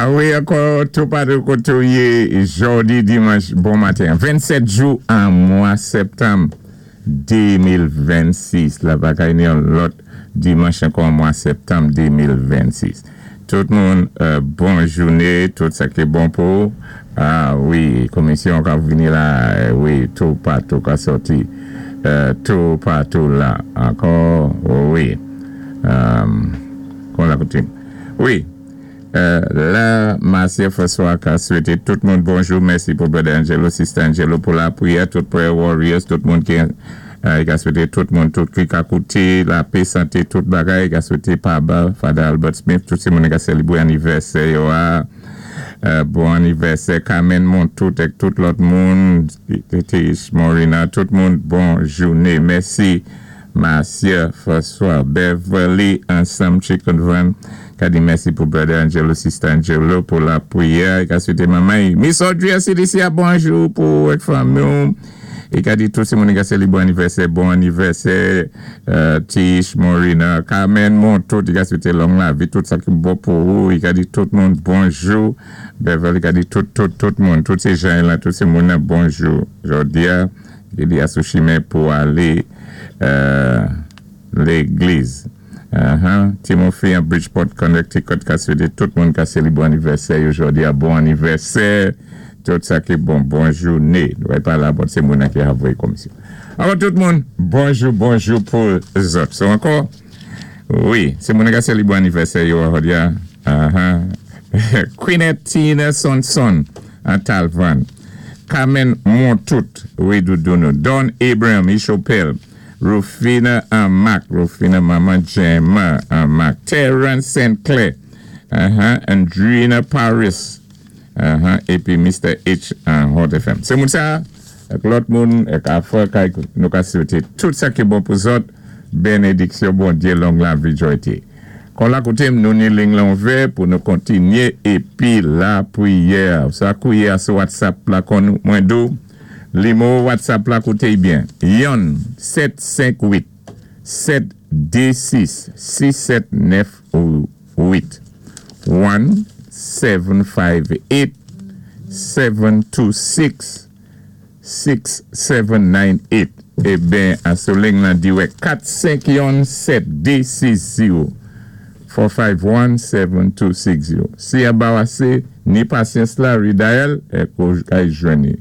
A wi, ankò toupatou koté ou yé jòdi dimanch bon maten. 27 jou an mwa sèptanm 2026. La pa kay ni yon lòt dimanch ankò an mwa sèptanm 2026. Tout moun, bon jouné, tout sa ki bon pou. A wi, komisyon ka vini la, wi, toupatou ka sòti. Toupatou la ankò, wi. Kon la koutim. Wi. La, Marcia François ka swété tout moun bonjou. Mèsi pou Brother Angelo, Sister Angelo pou lapriyè, tout prayer warriors, tout moun ki ka swété tout moun, tout ki ka kouté, lapè, santé, tout bagay, ka swété Paba, Father Albert Smith, tout sé moun ki ka sélébwé anivèsè yo a. Bon anivèsè Carmen Montout ak tout lòt moun, Tish Morina, tout moun, bon jouné. Mèsi. Marcia François, Beverly ansanm Chicken Van ka di mèsi pou Brother Angelo, Sister Angelo pou lapriyè, ka swété manman Miss Audrey CDC a bonjou pou ak fanmi. É ka di tout sé moun ka sélébré anivèsè, bon anivèsè, Tish, Morina, Carmen Montout, i ka swété long lavi, tout sa ki bon pou ou, i ka di tout moun bonjou, Beverly ka di tout, tout, tout moun, tout sé jan la, tout sé moun bonjou. Jòdi a, i di a sou chimen pou alé légliz. Timothy an Bridgeport, Connecticut, ka swété tout moun ka sélébré anivèsè jòdi a bon anivèsè. Tout sa ki bon, bon jouné. Wè pa la, bon, sé moun ki avoyé komisyon. Alò, tout moun, bonjou, bonjou pou zòt. So ankò, wi, sé moun ki sélébré anivèsè jòdi a. Queenette Tina Sonson an Talvan. Carmen Montout, wi, Doudounou. Don Abraham, Ishopel. Rufina Mac, Rufina Mama Gemma Mac. Terence St. Clair. Andrina Paris. Épi Mr. H an Hot FM. Sé moun sa, ak lòt moun, ak afè nou ka swété tout sa ki bon pou zòt, bénédiksyon Bondyé, long lavi, jwayté. Kon la kouté nou ni liy lan ouvè pou nou kontinyé épi lapriyè. Sa kouwé a sou WhatsApp la kon mwen di ou, nimewo WhatsApp la kouté byen. 1 7 5 8 7 2 6 6 7 9 8 1 7 5 8 7 2 6 6 7 9 8. Eben, a sou liy lan di wè 4 5 1 7 2 6 0 4 5 1 7 2 6 0. Si a ba asé, ni pasyans la, redial, é kay jwenni.